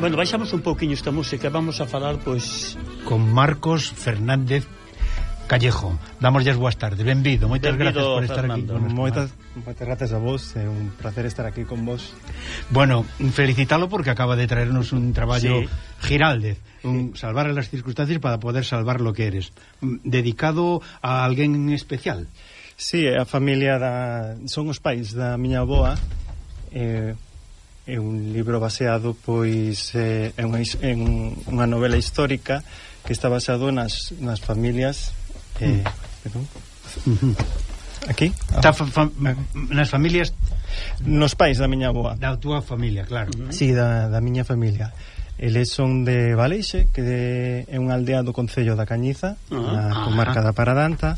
Bueno, baixamos un pouquiño esta música. Vamos a falar, pois, con Marcos Fernández Callejo. Damoslle boas tardes. Benvido. Moitas gracias por estar Fernando. Aquí. Moitas gracias a vos. É un placer estar aquí con vos. Bueno, felicitalo porque acaba de traernos un traballo, sí, Giraldez, salvar las circunstancias para poder salvar lo que eres. Dedicado a alguén en especial. Sí, a familia son os pais da miña avoa. É un libro baseado, pois, en unha novela histórica que está basado nas familias perdón. Aquí? Nas familias, nos pais da miña avoa. Da túa familia, claro. Sí, da miña familia. Eles son de Valeixe, que é unha aldea do concello da Cañiza, na comarca da Paradanta.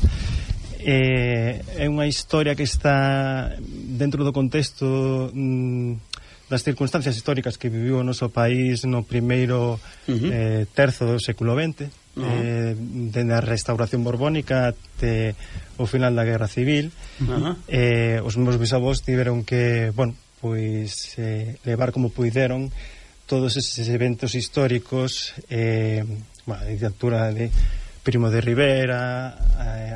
É unha historia que está dentro do contexto das circunstancias históricas que viviu o noso país no primeiro terzo do século XX, dende a restauración borbónica até o final da Guerra Civil. Os meus bisavós tiveron que, bueno, pois levar como puideron todos eses eventos históricos, a dictadura de Primo de Rivera,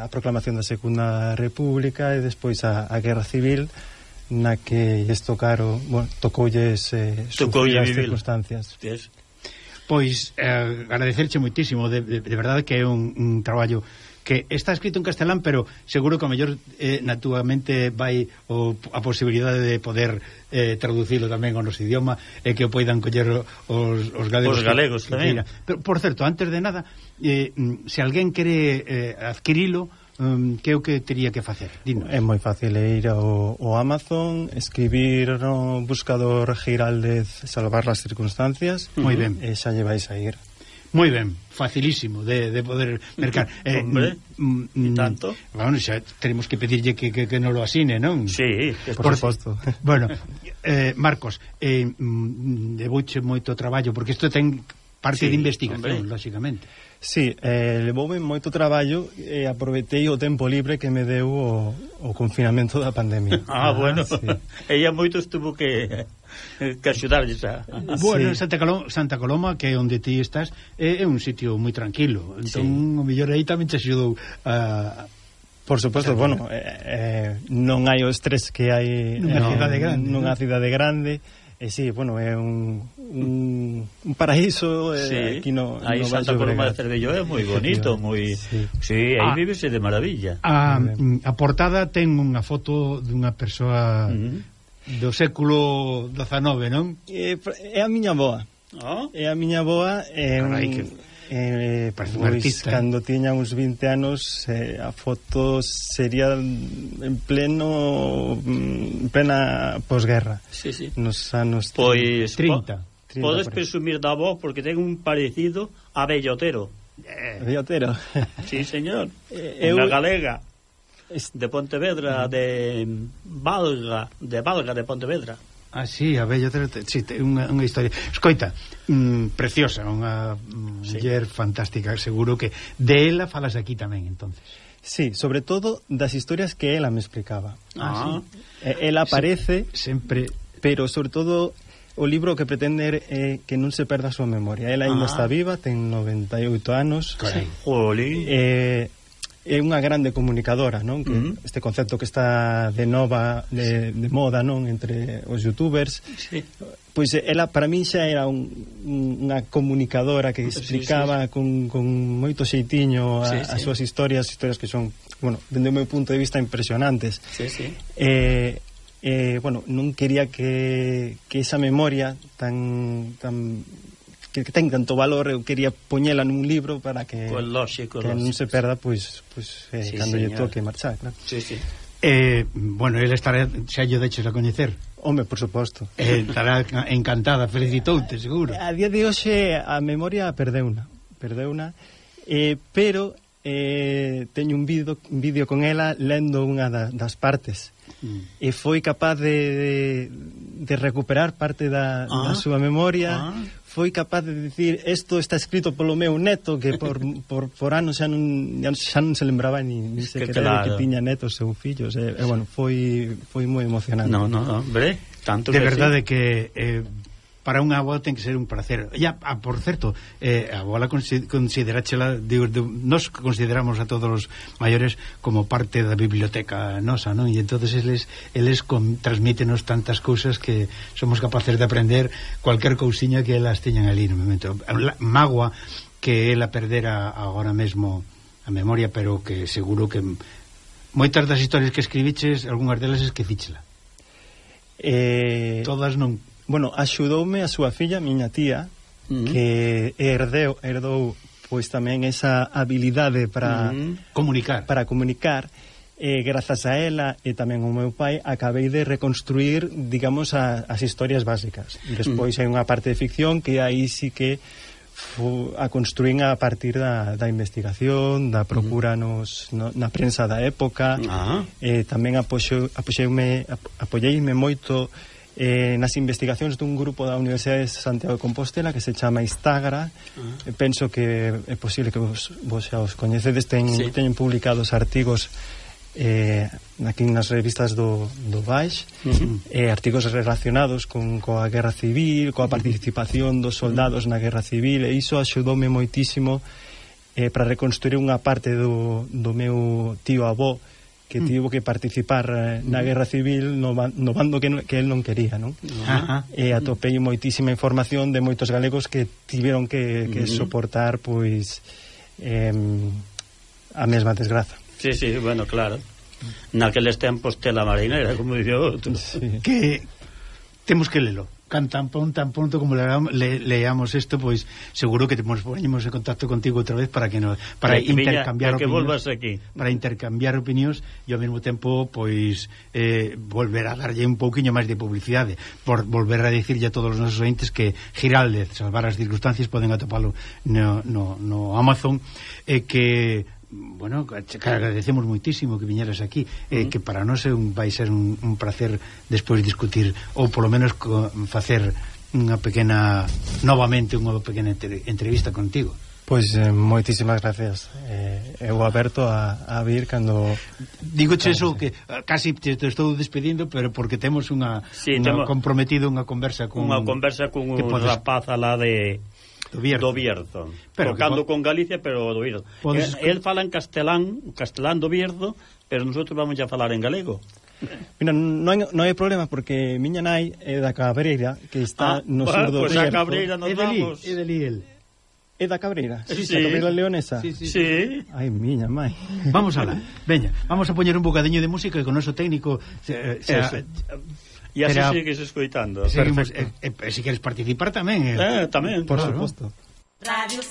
a proclamación da Segunda República e despois a Guerra Civil, na que lles tocoulles sufrir as circunstancias. Yes. Pois agradecerche moitísimo, de verdade que é un traballo que está escrito en castelán, pero seguro que a mellor na túa mente vai a posibilidade de poder traducilo tamén ao noso idioma e que o poidan coller os galegos. Os galegos tamén. Pero, por certo, antes de nada, se alguén quere adquirilo, que é o que tería que facer? Dinos. É moi fácil, ir ao Amazon, escribir no buscador Giraldez salvar las circunstancias. Moi ben. E xa lle vais a ir. Moi ben, facilísimo de poder mercar. Hombre, e tanto. Bueno, xa tenemos que pedirlle que nos lo asine, non? Sí, por suposto. Bueno, Marcos, levouche moito traballo, porque isto ten parte de investigación, lógicamente. Sí, levoume moito traballo e aproveitei o tempo libre que me deu o confinamento da pandemia. Bueno, sí. Ella moito estuvo que axudarlles a... Bueno, sí. Santa Coloma, que é onde ti estás, é un sitio moi tranquilo. Entón, o mellor aí tamén te axudou a... Por suposto, bueno, non hai o estrés que hai nunha cidade grande. Nunha cidade grande. E sí, bueno, é un un paraíso aquí no aí Santa Coloma de Cervello é moi bonito, moi sí, aí vívese de maravilla. A portada ten unha foto dunha persoa do século XIX, non? É a miña avoa. É a miña avoa, parece un artista. Cando tiña uns 20 anos, a foto sería en plena posguerra. Sí. Nos anos 30. Podes presumir da voz porque ten un parecido a Bellotero. Bellotero? Sí, señor. Unha galega de Pontevedra, de Valga de Pontevedra. Sí, a Bellotero, sí, unha historia. Escoita, preciosa, unha muller fantástica, seguro que de ela falas aquí tamén, entonces. Sí, sobre todo das historias que ela me explicaba. Sí. Ela aparece sempre, pero sobre todo o libro que pretende é que non se perda a súa memoria. Ela ainda está viva, ten 98 anos. Jolín. É unha grande comunicadora, non? Que este concepto que está de moda, non, entre os youtubers. Sí. Pois ela para min xa era unha comunicadora que explicaba con moito xeitiño as súas historias que son, bueno, dende o meu punto de vista impresionantes. Non quería que esa memoria que ten tanto valor, eu quería poñela nun libro para que non se perda, cando lle toque marchar, claro. Bueno, ele estará, xa lle deixes a coñecer. Home, por suposto. Estará encantada, felicitoute, seguro. A día de hoxe a memoria perdeuna, pero teño un vídeo con ela lendo unha das partes. E foi capaz de recuperar parte da súa memoria. Foi capaz de dicir, isto está escrito polo meu neto, que por anos xa non se lembraba ni se querer que tiña netos ou fillos. Bueno, foi moi emocionante. No, hombre, tanto de verdade que para unha avó ten que ser un placer. Por certo, a avó consideráchela, nos consideramos a todos os maiores como parte da biblioteca nosa, non? E entonces eles transmítenos tantas cousas que somos capaces de aprender cualquier cousiña que elas teñan ali no momento. Magua que ela perdera agora mesmo a memoria, pero que seguro que moitas das historias que escribiches, algunhas delas esquecíchela. Todas non. Bueno, axudoume a súa filla, miña tía, que herdou pois tamén esa habilidade para comunicar. Grazas a ela e tamén ao meu pai acabei de reconstruir, digamos, as historias básicas. Despois hai unha parte de ficción que aí sí que a construín a partir da investigación, da procura na prensa da época. Tamén apoieime moito nas investigacións dun grupo da Universidade de Santiago de Compostela que se chama Istagra. Penso que é posible que vos xa os coñecedes. Teñen publicados artigos aquí nas revistas do Baix, artigos relacionados coa guerra civil, coa participación dos soldados na guerra civil, e iso axudoume moitísimo para reconstruir unha parte do meu tío avó que tivo que participar na guerra civil no bando que el non quería, non? E atopei moitísima información de moitos galegos que tiveron que soportar pois a mesma desgraza. Sí, bueno, claro. Naqueles tempos tela marinera, como dicía outro. Que temos que lelo. Tan pronto como leamos isto, pois seguro que poñemos en contacto contigo outra vez para intercambiar opinións, volvas aquí. Para intercambiar opinións e ao mesmo tempo pois volver a darlle un pouquiño máis de publicidade, por volver a dicirlle a todos os nosos ointes que Giraldez, salvar as circunstancias, poden atopalo no Amazon, que bueno, que agradecemos moitísimo que viñeras aquí, que para nós vai ser un placer despois discutir, ou polo menos facer unha pequena entrevista contigo. Pois moitísimas gracias. Eu aberto a vir cando... Digoche eso, que casi te estou despedindo, pero porque temos comprometido unha conversa con un rapaz alá de do Bierzo, tocando con Galicia, pero do Bierzo. Él fala en castelán do Bierzo, pero nosotros vamos a falar en galego. Mira, non hai problema porque miña nai é da Cabreira, que está no sur do Pues a Cabreira nos vamos. É de Liel. É da Cabreira? Sí. A Cabreira leonesa? Sí. Ai, miña mãe. Vamos alá. Veña, vamos a poñer un bocadiño de música e con o noso técnico E así sigues escoitando. Seguimos, se queres participar tamén. Tamén. Por suposto.